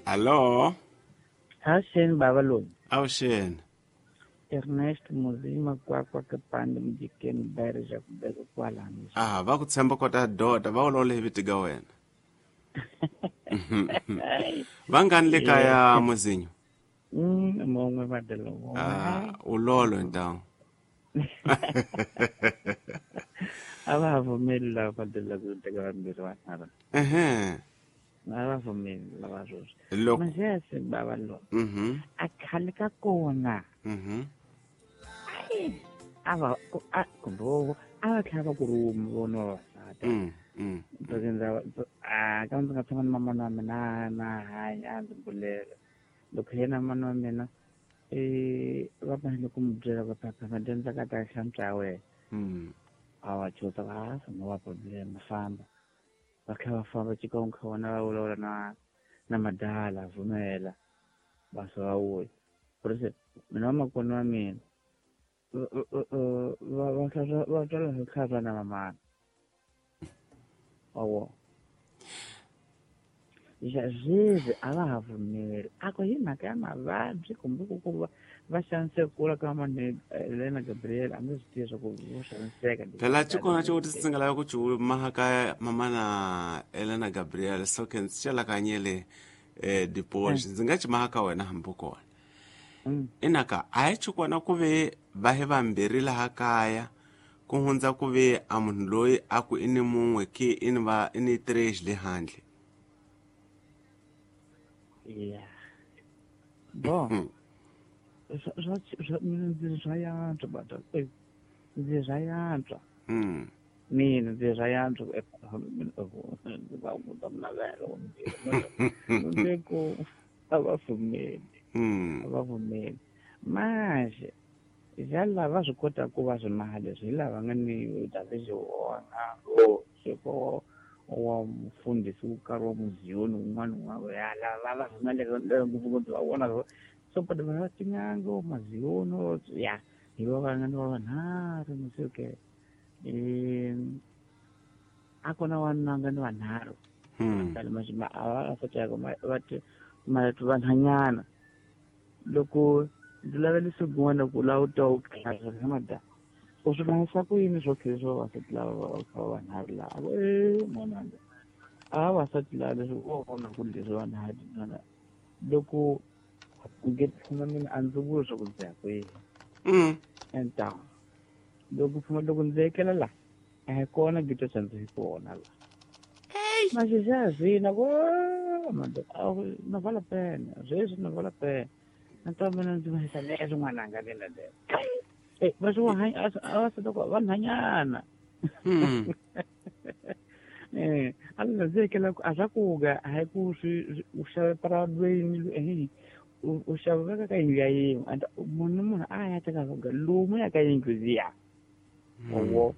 Allo. Avuxeni bava loyi. Avuxeni. Ernest Muzima kwakwa Kapande Mjikeni Bere ja kubeka kwalano. Ah, va ku tshemba kota dota va vulavula hi vito ka wena. Vangani le kaya Muzinyo? Mongwe madelo mongwe. Ah, ulolo ntawu. A va ha pfumeli lava badela ku teka vambirhi vanharhu. Ehe. A va pfumeli lava sweswi. Loko Manje bava lo. A khale ka kona. A va a kumbe a va tlhela va ku rhuma vona vavasati. A ka ndzi nga tshama na mamana wa mina na hanya a ndzi bulela. Loko yena mana wa mina va fanele ku n'wi byela ku papa madyondza ka ta hlantswa ya wena. A va chuza va no va problem famba. Va kha va famba xikan'we kha vona va vulavula na madala pfumela va se va vuya. Ku mina vamakwerhu wa mina va twala hi tlhava na mamana. Wa Sweswi a va ha pfumeli a ku hi mhaka ya mavabyi kumbe ku ku va xaniseka ka mani Elena Gabriel a ndzi swi tivi swa ku vo xaniseka. Phela xikona xivutiso ndzi nga lava ku xi maha mamana Elena Gabriel so ke ndzi xelakanyele dipoxi ndzi nga xi maha ka wena hambi kona. Inaka a hi xikona ku ve va hi vambirhi laha kaya ku hundza ku ve a munhu loyi a ku i ni mun'we ke i ni va i ni três le handle. Yeah. Bon. Mina ndzi swa yantswa bata. Ndzi swa yantswa. Mina ndzi swa yantswa ndzi va ku navelo. Ndzi ku a va pfumeli. A va pfumeli. Manje ja lava swi kota ku va swi maha leswi hi lava nga ni David Wona siko wa mufundhisi wo karhi wa muziyoni wun'wana wa ya lava va pfumeleka ngopfungopfu va vona so but va tin'anga maziyoni ya hi va va nga ni va vanharhu masuke a kona wanuna nga ni vanharhu a va va vanhanyana loko ndzi lavele siku ku lava u twa u tlhela mada u swi mahisa ku yini swo tlhela swa vavasati lava va kha va vanharhu laha a ku n'wananga a vavasati lava leswi u vona ku leswi vanharhu n'wana loko nge phuma mina a ndzi vuli swa ku ndzi ya kwihi enta loko phuma loko ndzi ekela la a hi kona gito xa ndzi hi kona la maxixa zwina ku no vale a pena sweswi no vale a pena nta mina ndzi mahisa leswi n'wananga mina le va swi vavasati vanhanyana a ndzi ekela a swa kuga a hi ku swi u xave paradweni u xava veka ka yindlu ya yin'we and munhu munhu a ya teka swo lomu ya ka yindlu liya wo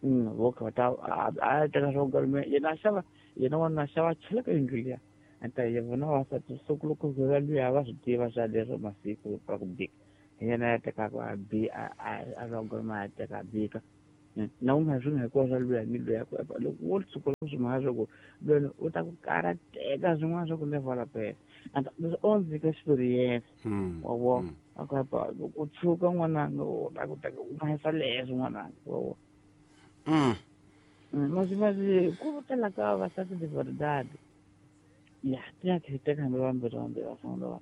vo kha ta a ya teka swo yena a xava yena wanuna a xava chela ka yindlu liya anta ye vona vavasati siku loko va luya va swi tiva swa leswo masiku ra ku bika hi yena ya tekaka a bi a logoma ya teka a bika na u nga swi nga hikuva swa luya ni luya loko wo tshuka swi mhaka swa ku lwena u ta ku karateka swin'wana swa ku never la pena and leswi o ndzi nyika experience wa vona a ku apa loko u tshuka n'wananga u la ku teka u mahisa leswi n'wananga wa vona masi masi ku tala ka vavasati de verdade ya ti ya teka hambi vambirhi vambirhi va sungula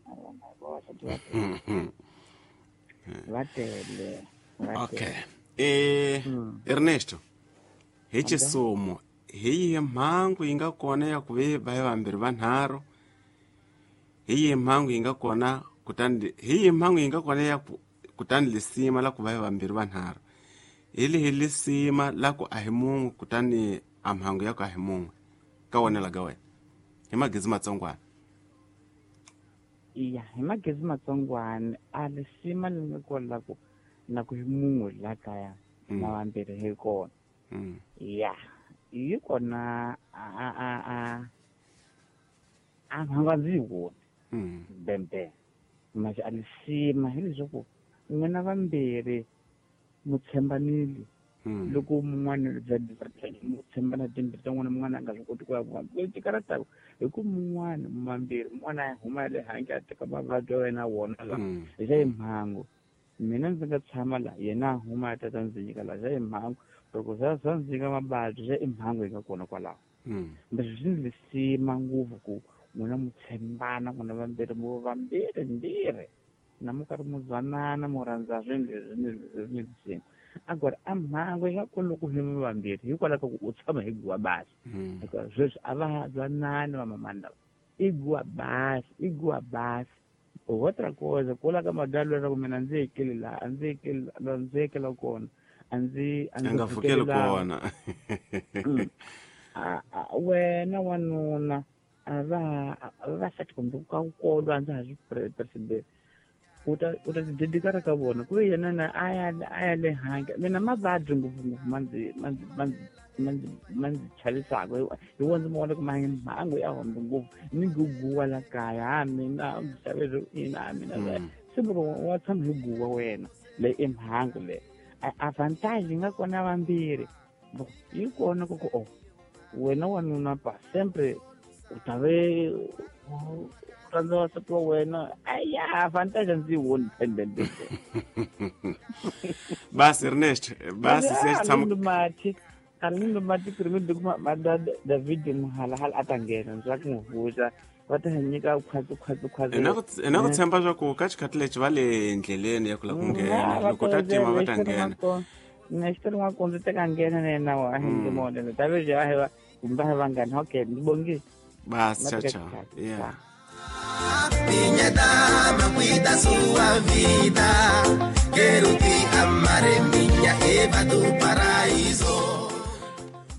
vavasati va tele va tele. Okay. Ernesto hi xisumo hi yihi mhangu yi nga kona ya ku ve va hi vambirhi vanharhu hi yihi mhangu yi nga kona kutani hi yihi mhangu yi nga kona ya ku kutani lisima la ku va hi vambirhi vanharhu hi lihi lisima la ku a hi mun'we kutani a mhangu ya ku a hi mun'we ka wena la ka wena hi magezi matsongwana. Ya hi magezi matsongwana a lisima leri nga kona la ku na ku hi mun'we la kaya na vambirhi hi kona. Ya yi kona a mhangu a ndzi yi voni bembe manje a lisima hi leswaku n'wina vambirhi mu tshembanile loko mun'wana mu tshembana timbirhi ta n'wina mun'wana a nga swi koti ku ya vona ti karataku Hi ku mun'wana mambirhi mun'wana a huma le handle a teka mavabyi ya wena wona la. Xa i mhangu. Mina ndzi nga tshama la yena a huma a ta ndzi nyika la xa i mhangu. Loko swa ndzi nyika mavabyi xa i mhangu yi nga kona kwalaho. Leswi swi ndzi sima ngopfu ku n'wina mu tshembana n'wina vambirhi mu vambirhi mbirhi na mu karhi mu zwanana mu rhandza swilo leswi ni agora a mhangu yi nga kona loko hi vambirhi hikwalaho ka ku u tshama hi guwa basi. Hikuva sweswi a va zwanani vamamani lava i guwa basi i guwa basi. Outra coisa kula ka madalo leswaku mina ndzi ekele laha a ndzi ekele laha ndzi ekela kona a ndzi a ndzi nga pfukeli kona. Wena wanuna a va vavasati kumbe ka kolo a ndza ha swi percebe u ta tidedikara ka vona ku ve yena na a ya le handle mina mavabyi ngopfungopfu ma ndzi chavisaka hi wona ndzi ma vona ku mhangu ya hombe ngopfu ni guguwa la kaya ha mina xaveri ina mina se loko wa tshama hi guwa wena leyi i mhangu leyi avantage yi nga kona vambirhi yi kona ku ku o wena wanuna pa sempre u ta ve u rhandza wansati wa wena aya avantage ndzi yi voni pendende. Basi Ernest basi se tshama mati Arlindo mati pirimidi kuma David Muhalahala a ta nghena ndzi va ku n'wi vuxa va ta nyika khwatsi khwatsi khwatsi. Ina ku tshemba swa ku ka xikhathi lexi va le ndleleni ya ku lava ku nghena loko ta tima va ta nghena. Next n'wakunzi teka nghena na yena wa ndzi mona David a hi va kumbe a hi vanghani okay ndzi bongile. Basi cha cha. Yeah. Minha dama cuida sua vida. Quero te amar, minha Eva do paraíso.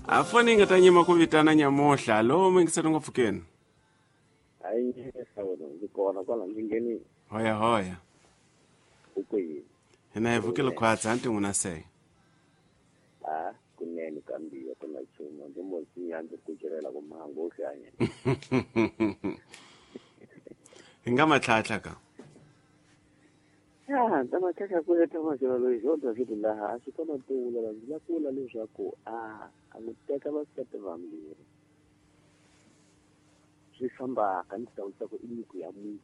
A foni nga ta nyima ku vitana nyamuhla lo mi ngisela ngopfu keni. Hayi sawona ndzi kona kwala ndzi ngheni. Hoya hoya. U kwihi? Hina hi vukile khwatsa anti n'wina se. A kunene kambiwa ku na nchumu ndzi mo siya ndzi kucerela ku mhangu u hlanya. Hi nga matlhatlha ka. Ya, ta matlhatlha ku leta maxelo loyi xo David laha a swi kona tula ndzi la kula leswaku a n'wi teka vasati vambirhi. Swi fambaka ni ta vutisa ku i nyiko ya munhu.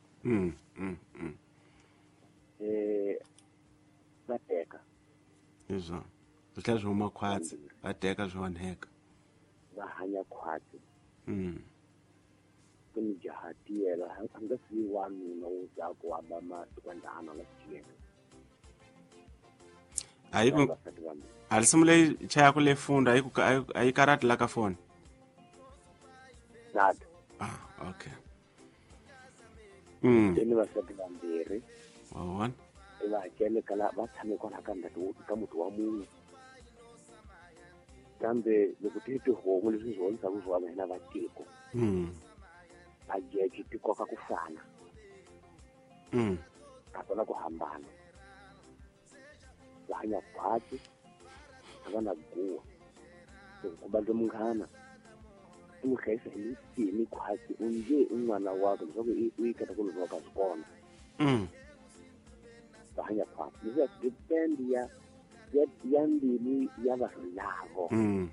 Va teka. Leswo. Swi tlhela swi huma khwatsi, va teka swi onheka. Va hanya khwatsi. Ku ni jaha tiyela a nga si wanuna wo za ku amba masikwandana la tiyela. Ayi ku a risimu leyi chayaka le funda a yi karati la ka foni. Nada. Ah, okay. Ni vasati vambirhi. Wa vona? Va hakele kala va tshame kwala ka ndhawu ka muti wa munhu. Kambe loko ti tihomu leswi swi vonisaka swona hina va tiko. Va geji ti koka ku fana. A kona ku hambana. Va hanya khwatsi, a va na guwa. Loko ku bandle munghana u n'wi hlayisa hi nsini khwatsi u nge i n'wana wakwe leswaku u yi kota ku lova ka swi kona. Va hanya khwatsi. Leswi swi depend ya ya mbilu ya vanhu lavo.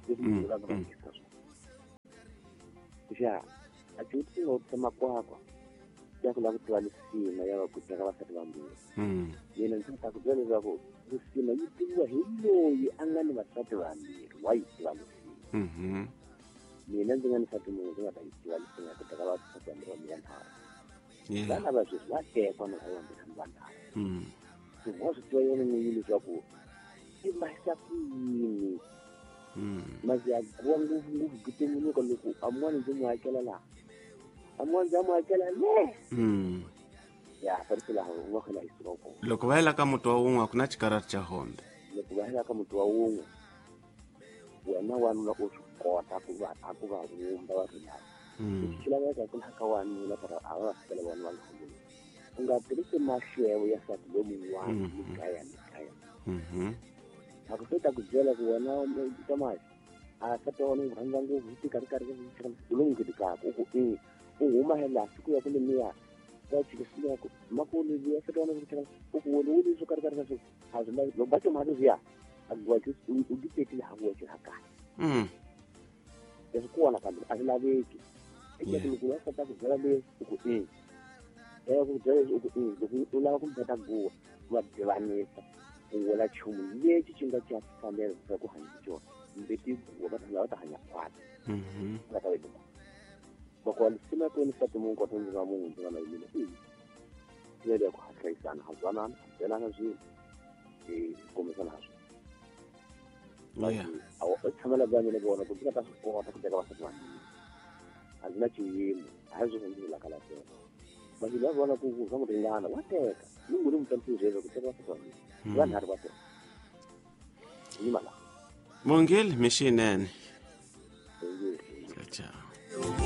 Leswi va va endlisa swona. Xa a ti nga vutisa makwakwa ya ku lava ku tiva lisima ya va ku teka vasati vambirhi. Mina ndzi ta ku byela leswaku lisima yi tiviwa hi loyi a nga ni vasati vambirhi wa yi tiva lisima. Mina ndzi nga ni nsati munhu ndzi nga ta yi tiva lisima ya ku teka vasati vambirhi va vanharhu. Vana va sweswi va tekwa na vambirhi hambi vanharhu. Wa swi tiva yona n'winyi leswaku i mahisa ku yini. Masi ya guwa ngopfu ngopfu ku tumbuluka loko a mun'wana ndzi n'wi hakela laha. A mun'wana ndzi n'wi hakela le. Ya farisi laha u nga khona hi suka kona. Loko va yela ka muti wa wun'we a ku na xikarati xa hombe. Loko va yela ka muti wa wun'we wena wanuna u swi kota ku va a ku va vumba va ri lava. Swi laveka ku ka wanuna para a va fikela vona va nga vumbi. U nga tirhisi mahlevo ya nsati lomun'wana mikaya mikaya. A ku ta ku byela ku wena Thomas a nsati wa wena u rhandza ngopfu hi tika ri karhi u lo n'wi nghenekaka u ku e u huma hi laha siku ya ku lemiya va chika siku ya ku makulu ya nsati wa wena u ku wena u leswi karhi karhi swa a swi lavi loko va timhaka leswiya a ku u ti tekile ha ku wena ha kahle. Leswi kona kambe a swi laveki. Eka loko va kota ku byela leswi u ku i ku byela leswi u ku i loko u lava ku mbeta guwa va divanisa u vula nchumu lexi xi nga xa fanela leswaku ku hanya xona mbeti guwa va ta va ta hanya khwati nga ta wena va lisima ko ni sati mungu kota ndzi nga munhu ndzi nga na yimile i ndlela ya ku hlayisana ha zwanana ha byelana swilo hi kombisana ha swona. A tshamela bya mina vona ku ndzi nga ta swi kota ku teka vasati vambirhi a ndzi na xiyimo a hi sweswo ndzi vulaka la teka vanhu lava vona ku swa ku ringana wa teka ni nguli mutantisi sweswo ku teka vasati vambirhi vanharhu va teka yima laha mongeli mixinene. Ciao.